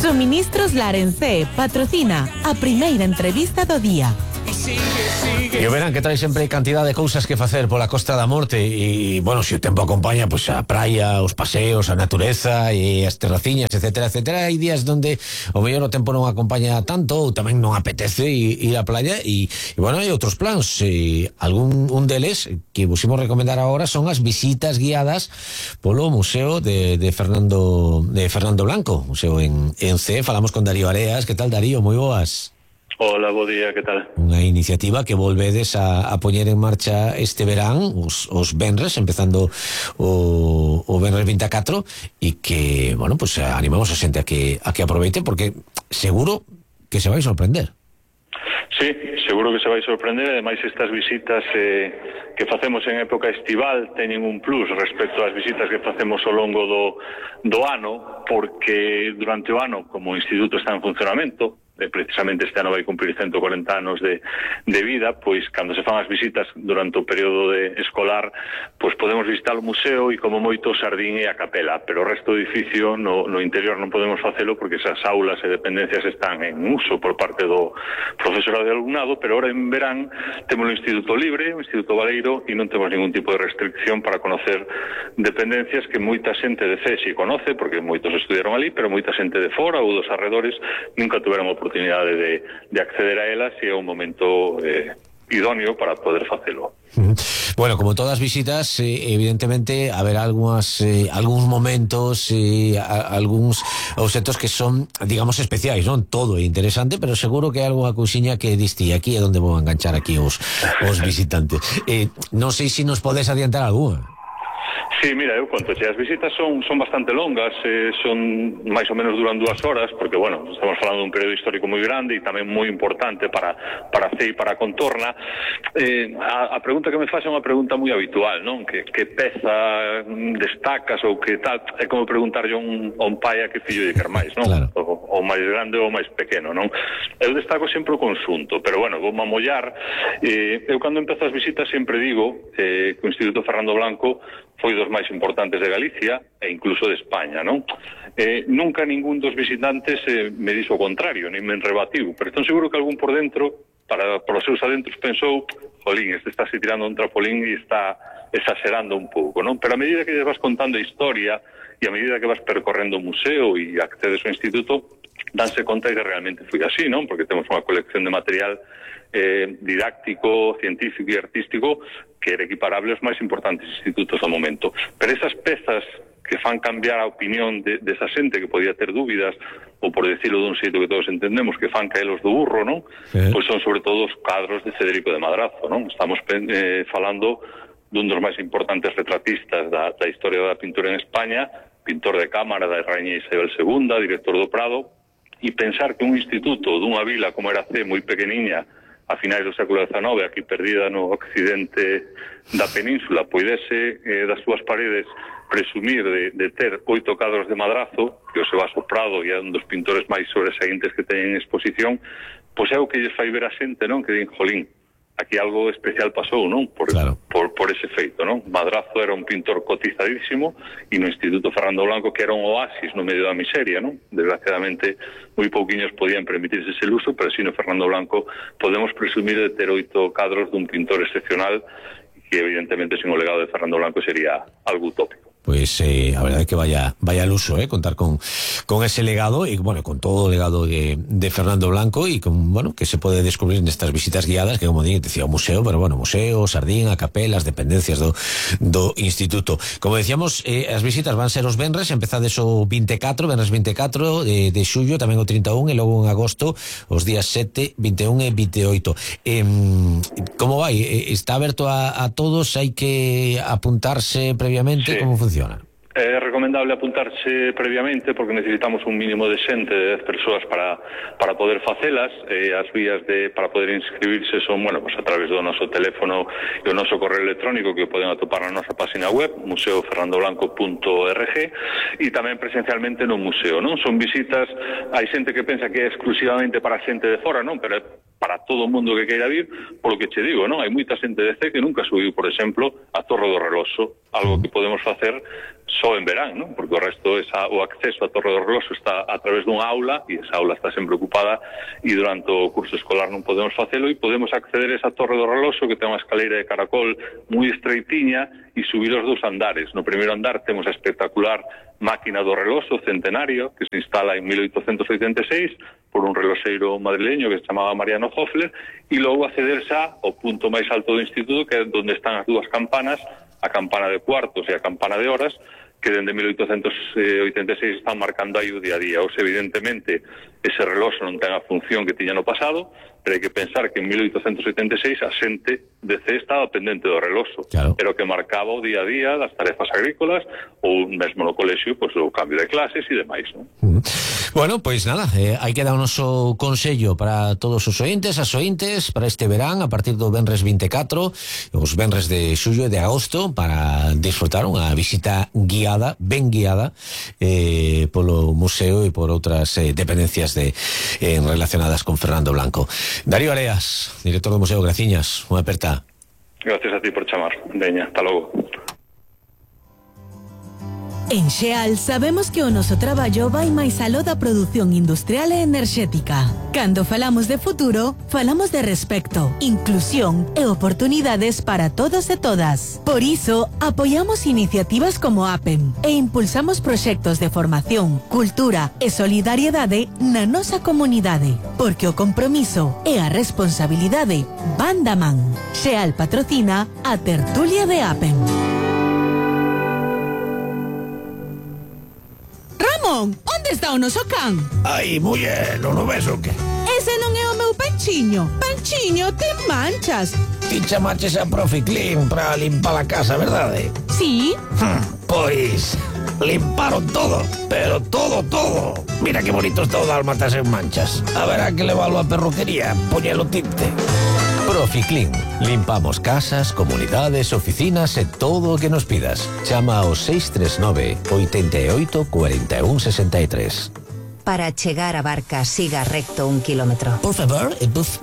Suministros Larense patrocina a primeira entrevista do día. E verán que trae sempre cantidad de cousas que facer pola Costa da Morte e, bueno, se o tempo acompaña, pois a praia, os paseos, a natureza e as terraciñas, etcétera, etcétera. Hai días donde o mellor o tempo non acompaña tanto ou tamén non apetece ir á playa e bueno, hai outros plans. Un deles que vos imos recomendar agora son as visitas guiadas polo Museo de Fernando Blanco, museo en C. Falamos con Darío Areas. Que tal, Darío? Moi boas. Hola, bo día, que tal? Unha iniciativa que volvedes a poñer en marcha este verán, os venres, empezando o venres 24, e que, bueno, pues animamos a xente a que aproveite, porque seguro que se vai sorprender. Sí, seguro que se vai sorprender. Ademais, estas visitas que facemos en época estival teñen un plus respecto ás visitas que facemos ao longo do ano, porque durante o ano, como o Instituto está en funcionamento, precisamente este ano vai cumprir 140 anos de vida, pois cando se fan as visitas durante o período escolar, pois podemos visitar o museo e como moito o Sardín e a capela, pero o resto do edificio no interior non podemos facelo porque esas aulas e dependencias están en uso por parte do profesorado e alumnado, pero ahora en verán temos o Instituto Libre, o Instituto Baleiro, e non temos ningún tipo de restricción para conocer dependencias que moita xente de CESI conoce, porque moitos estudiaron ali, pero moita xente de fora ou dos arredores nunca tuveron oportunidade de acceder a elas, e é un momento idóneo para poder facelo. Bueno, como todas visitas, evidentemente haberá algúns momentos, algúns obxectos que son, digamos, especiais, non todo é interesante, pero seguro que hai algunha cousiña que diste aquí é onde vou enganchar aquí os visitantes. Non sei se nos podes adiantar algunha. Sí, mira, eu conto, as visitas son bastante longas, son máis ou menos duran 2 horas, porque, bueno, estamos falando dun período histórico moi grande e tamén moi importante para C e para a contorna. A pregunta que me faz é unha pregunta moi habitual, non? Que peza destacas ou que tal? É como preguntarlle a un pai a que fillo lle quer máis, non? Claro. O máis grande ou o máis pequeno, non? Eu destaco sempre o conxunto, pero, bueno, vou mamollar. Eu, cando empezo as visitas, sempre digo que o Instituto Fernando Blanco foi dos máis importantes de Galicia e incluso de España, non? Nunca ningún dos visitantes me dixo o contrario, nin me rebatiu, pero estou seguro que algún por dentro, para os seus adentros, pensou, jolín, este está se tirando un trapolín e está exagerando un pouco, non? Pero a medida que vas contando a historia e a medida que vas percorrendo o museo e accedes ao instituto, danse conta que realmente foi así, non? Porque temos unha colección de material didáctico, científico e artístico que era equiparable aos máis importantes institutos do momento. Pero esas pezas que fan cambiar a opinión desa xente que podía ter dúbidas, ou por decirlo dun xeito que todos entendemos, que fan caelos do burro, non? Pois son sobre todo os cadros de Federico de Madrazo, non? Estamos falando dun dos máis importantes retratistas da historia da pintura en España, pintor de cámara da Raíña Isabel II, director do Prado, e pensar que un instituto dunha vila como era C, moi pequeniña, a finais do século XIX, aquí perdida no occidente da península, poidese das súas paredes presumir de ter 8 cadros de Madrazo, que o se va soprado e é un dos pintores máis sobresaíntes que teñen en exposición, pois é o que lles fai ver a xente, non? Que din, jolín, aquí algo especial pasou, non? Por ese feito, non? Madrazo era un pintor cotizadísimo e no Instituto Fernando Blanco, que era un oasis no medio da miseria, non? Desgraciadamente, moi pouquiños podían permitirse ese luso, pero si no Fernando Blanco podemos presumir de ter 8 cadros dun pintor excepcional que evidentemente sin o legado de Fernando Blanco sería algo utópico. Pues a verdade que vaya al uso, contar con ese legado y bueno, con todo o legado de Fernando Blanco y con, bueno, que se pode descubrir nestas visitas guiadas, que como decía, o museo, pero bueno, museo, Sardín, a capela, as dependencias do instituto. Como decíamos, as visitas van ser os venres, empezades o 24, venres 24 de xullo, tamén o 31 e logo en agosto os días 7, 21 e 28. Como vai? Está aberto a todos? Hai que apuntarse previamente? Sí. Como funciona? É recomendable apuntarse previamente porque necesitamos un mínimo de xente, de 10 persoas para poder facelas. As vías para poder inscribirse son, bueno, pues a través do noso teléfono e o noso correo electrónico que poden atopar na nosa página web, museofernandoblanco.org, e tamén presencialmente no museo, non? Son visitas, hai xente que pensa que é exclusivamente para xente de fora, non? Pero para todo o mundo que queira vir, polo que che digo, non? Hai moita xente de C que nunca subiu, por exemplo, a Torre do Reloxo, algo que podemos facer só en verán, non? Porque o resto, o acceso á Torre do Reloxo está a través dunha aula, e esa aula está sempre ocupada, e durante o curso escolar non podemos facelo, e podemos acceder a esa Torre do Reloxo, que ten unha escaleira de caracol moi estreitiña, e subir os 2 andares. No primeiro andar temos a espectacular máquina do reloxo centenario, que se instala en 1886 por un reloxeiro madrileño que se chamaba Mariano Hoffler, e logo acceder xa ao punto máis alto do instituto, que é onde están as 2 campanas, a campana de cuartos e a campana de horas, que dende 1886 están marcando aí o día a día. Ou se, evidentemente, ese reloxo non ten a función que tiña no pasado, pero hai que pensar que en 1886 a xente de C estaba pendente do reloxo, claro, pero que marcaba o día a día das tarefas agrícolas ou mesmo no colexio, pois, o cambio de clases e demais, non? Bueno, pois nada, hai que dar o noso consello para todos os ointes, as ointes, para este verán, a partir do venres 24, os venres de xullo e de agosto, para disfrutar unha visita guiada, ben guiada, polo museo e por outras dependencias relacionadas con Fernando Blanco. Darío Areas, director do Museo, graciñas, unha aperta. Gracias a ti por chamar. Veña, hasta logo. En Xeal sabemos que o noso traballo vai máis aló da produción industrial e enerxética. Cando falamos de futuro, falamos de respecto, inclusión e oportunidades para todos e todas. Por iso, apoiamos iniciativas como APEM e impulsamos proxectos de formación, cultura e solidariedade na nosa comunidade, porque o compromiso e a responsabilidade van da man. Xeal patrocina a tertulia de APEM. Onde está o noso can? Ai, muller, non o ves o que? Ese non é o meu Panchiño. Panchiño, ten manchas. Ti chamaches a Profi Clean para limpar a casa, verdade? Sí. Pois limparon todo, pero todo. Mira que bonito está o dálmatas en manchas. Haberá que leválo a perruquería, poñelo tinte. Profi Clean. Limpamos casas, comunidades, oficinas e todo o que nos pidas. Chama ao 639 88 41 63. Para chegar a Barca, siga recto 1 kilómetro. Por favor,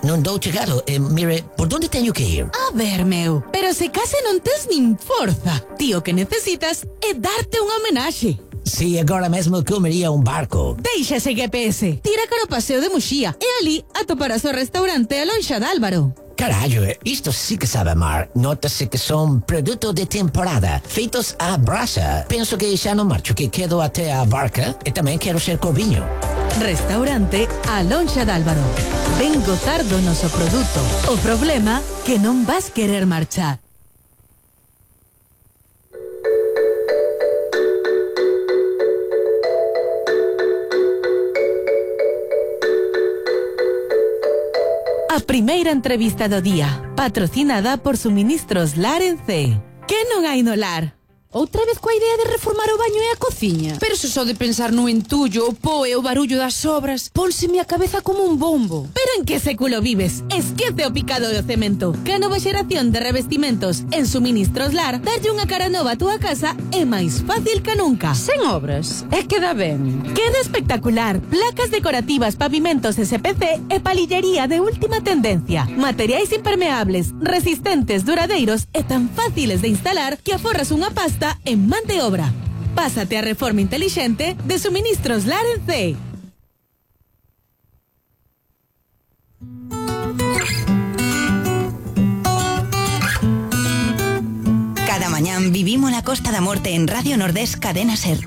non dou chegado. Mire, por onde teño que ir? A ver, meu, pero se case non tes nin forza. Tío, que necesitas é darte unha homenaxe. Si, agora mesmo comería un barco. Deixa ese GPS. Tira cara o paseo de Muxía e ali atoparás o restaurante A Lonxa de Álvaro. Carallo, isto sí que sabe mar. Nótase que son produto de temporada, feitos á brasa. Penso que xa non marcho, que quedo até a Barca e tamén quero ser corviño. Restaurante A Lonxa de Álvaro. Ven gozar do noso produto. O problema que non vas querer marchar. A primeira entrevista do día, patrocinada por Suministros Lar en C. Que non hai no lar? Outra vez coa idea de reformar o baño e a cociña? Pero se só de pensar no entullo, o po e o barullo das obras, pónseme a cabeza como un bombo. Pero en que século vives? Esquece o picado do cemento. Que a nova xeración de revestimentos en Suministros Lar darlle unha cara nova a túa casa é máis fácil que nunca. Sen obras? É que dá ben. Queda espectacular. Placas decorativas, pavimentos SPC e palillería de última tendencia. Materiais impermeables, resistentes, duradeiros e tan fáciles de instalar que aforras unha pasta en man de obra. Pásate a reforma inteligente de Suministros Lar en C. Cada mañán vivimos la Costa da Morte en Radio Nordés Cadena Ser.